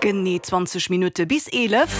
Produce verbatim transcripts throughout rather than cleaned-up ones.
Genee zwanzeg Minutte bis eelef.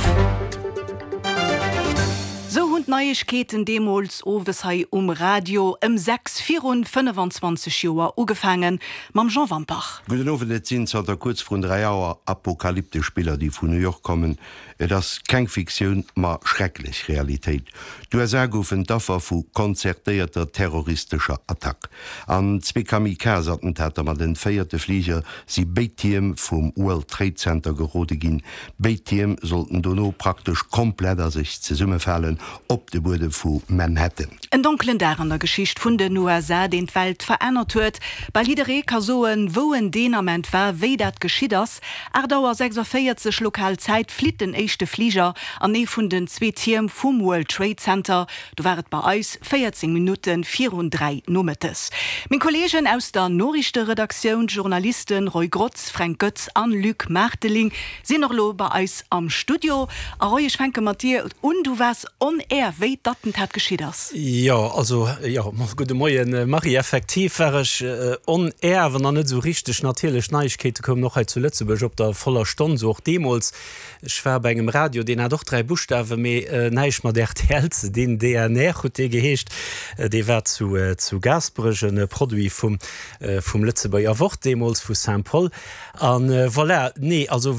Sou hunn d'Neiegkeeten deemools owes hei um Radio ëm sechs virun fënnefanzwanzeg Joer ugefaangen, mam Jean Wampach. Gudden Owend, et sinn zanter kuerz vrun dräi Auer apokalyptesch Biller, déi vun New York kommen. Et ass keng Fiktioun, ma schrecklech Realitéit. D'USA goufen d'Affer vu konzertéierter terroristescher Attack. An zwee Kamikaze-Attentater mat entféierte Fliger si béid Tierm vum World Trade Center gerode ginn. Béid Tierm sollten dono praktesch komplett a sech zesummefalen op de Buedem vu Manhattan. En donkelen Dag an der Geschicht vun den U S A, deen d'Welt verännert huet. Bal jidderee ka soen, wou en deen Ament war, wéi dat geschitt ass. Aacht Auer sechsavéierzeg lokal Zäit flitt den éischte Fliger an ee vun den zwee Tierm vum World Trade Center. Do war et bei eis véierzéng Minutte virun dräi nomëttes. Meng Kolleegen aus der Noriichteredaktioun, d'Journalisten Roy Grotz, Fränk Goetz an Luc Maarteling, sinn och elo bei eis am Studio. A Roy, ech fänke mat dir un, du waars on air, wéi d'Attentat geschitt ass. Jo, also, jo, gudde Moien, Marie. Effektiv war ech on air, awer nach net esou richteg. Natierlech, Neiegkeete koumen och hei zu Lëtzebuerg op der voller Stonn, sou och deemools. Ech war bei engem Radio, deen hat och dräi Buschtawen, mee näischt mat R T L ze dinn, D N R huet dee geheescht. Dee war zu zu Gaasperech, e Produit vum vum Lëtzebuerger Wort deemools, vu Saint-Paul. An voilà, nee, also